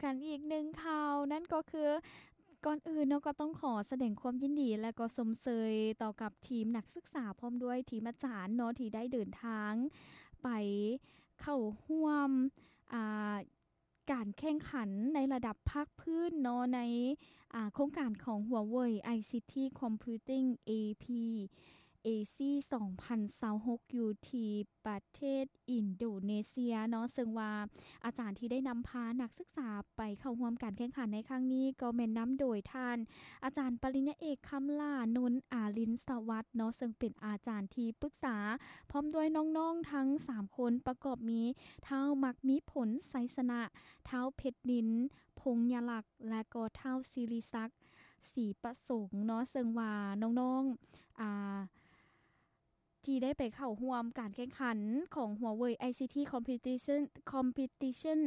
ກັນອີກໜຶ່ງຂ່າວ ນັ້ນກໍຄື ກ່ອນອື່ນເນາະ ກໍຕ້ອງຂໍສະແດງຄວາມຍິນດີ ແລະ ກໍຊົມເຊີຍຕໍ່ກັບທີມນັກສຶກສາ ພ້ອມດ້ວຍທີມອາຈານເນາະ ທີ່ໄດ້ເດີນທາງໄປເຂົ້າຮ່ວມ ອ່າ ການແຂ່ງຂັນໃນລະດັບພາກພື້ນເນາະ ໃນ ອ່າ ໂຄງການຂອງ Huawei ໄອ ໄອ ซี ที Computing ເອ พี ເອ ซี ສອງພັນຊາວຫົກ ຢູ່ທີ່ປະເທດອິນໂດເນເຊຍເນາະ ເຊິ່ງວ່າອາຈານທີ່ໄດ້ນຳພານັກສຶກສາໄປເຂົ້າຮ່ວມການແຂ່ງຂັນໃນຄັ້ງນີ້ ກໍແມ່ນນຳໂດຍທ່ານອາຈານປະລິນຍາເອກ ຄຳຫຼ້າ ນົນອາລິນສະຫວັດເນາະ ເຊິ່ງເປັນອາຈານທີ່ປຶກສາ ພ້ອມດ້ວຍນ້ອງໆທັງສາມຄົນ ປະກອບມີ ທ້າວ ມັກມີຜົນ ໄຊຊະນະ, ທ້າວ ເພັດນິນ ພົງຍະລັກ ແລະ ກໍທ້າວ ສິລິສັກ ສີປະສົງເນາະ ເຊິ່ງວ່ານ້ອງໆ ອ່າ ທີ່ໄດ້ໄປເຂົ້າຮ່ວມການແຂ່ງຂັນຂອງ Huawei ໄອ ซี ที Competition Competition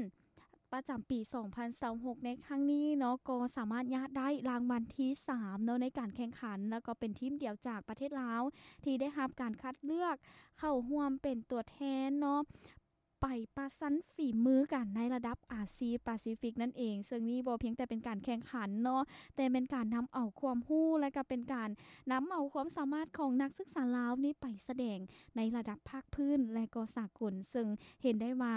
ປະຈຳປີສອງພັນຊາວຫົກໃນຄັ້ງນີ້ເນາະ ກໍສາມາດຍະໄດ້ລາງວັນທີສາມເນາະ ໃນການແຂ່ງຂັນ ແລ້ວກໍເປັນທີມດຽວຈາກປະເທດລາວ ທີ່ໄດ້ຮັບການຄັດເລືອກເຂົ້າຮ່ວມເປັນຕົວແທນເນາະ ໄປປະຊັນຝີມືກັນໃນລະດັບອາຊີປາຊີຟິກນັ້ນເອງ. ເຊິ່ງນີ້ບໍ່ພຽງແຕ່ເປັນການແຂ່ງຂັນເນາະ ແຕ່ແມ່ນການນຳເອົາຄວາມຮູ້ ແລະ ກໍເປັນການນຳເອົາຄວາມສາມາດຂອງນັກສຶກສາລາວນີ້ໄປສະແດງໃນລະດັບພາກພື້ນ ແລະ ກໍສາກົນ. ເຊິ່ງເຫັນໄດ້ວ່າ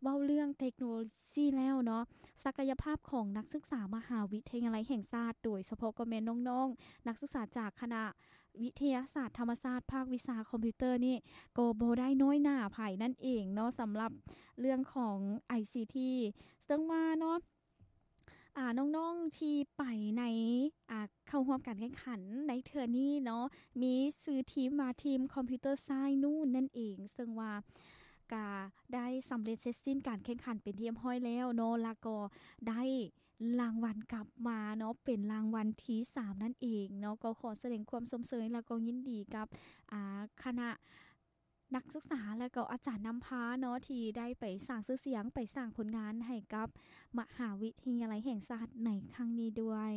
ເວົ້າເລື່ອງເຕັກໂນໂລຊີແລ້ວເນາະ ສັກກະຍະພາບຂອງນັກສຶກສາມະຫາວິທະຍາໄລແຫ່ງຊາດ ໂດຍສະເພາະກໍແມ່ນນ້ອງໆ ນັກສຶກສາຈາກຄະນະ ວິທະຍາສາດທຳມະຊາດ ພາກວິຊາຄອມພິວເຕີນີ້ ກໍບໍ່ໄດ້ນ້ອຍໜ້າໃຜນັ້ນເອງເນາະ ສຳລັບເລື່ອງຂອງໄອຊີທີ ເຊິ່ງວ່າເນາະ ອາ ນ້ອງໆທີ່ໄປໃນ ອາ ເຂົ້າຮ່ວມການແຂ່ງຂັນໃນເທື່ອນີ້ເນາະ ມີຊື່ທີມວ່າທີມຄອມພິວເຕີຊາຍນູນນັ້ນເອງ ເຊິ່ງວ່າກະໄດ້ສຳເລັດເສັດສິ້ນການແຂ່ງຂັນເປັນທີ່ຮຽບຮ້ອຍແລ້ວເນາະ ແລ້ວກໍໄດ້ ລາງວັນກັບມາເນາະ ເປັນລາງວັນທີສາມນັ້ນເອງເນາະ. ກໍຂໍສະແດງຄວາມຊົມເຊີຍ ແລ້ວກໍຍິນດີກັບ ອາ ຄະນະນັກສຶກສາ ແລ້ວກໍອາຈານນຳພາເນາະ ທີ່ໄດ້ໄປສ້າງຊື່ສຽງ ໄປສ້າງຜົນງານໃຫ້ກັບມະຫາວິທະຍາໄລແຫ່ງຊາດໃນຄັ້ງນີ້ດ້ວຍ.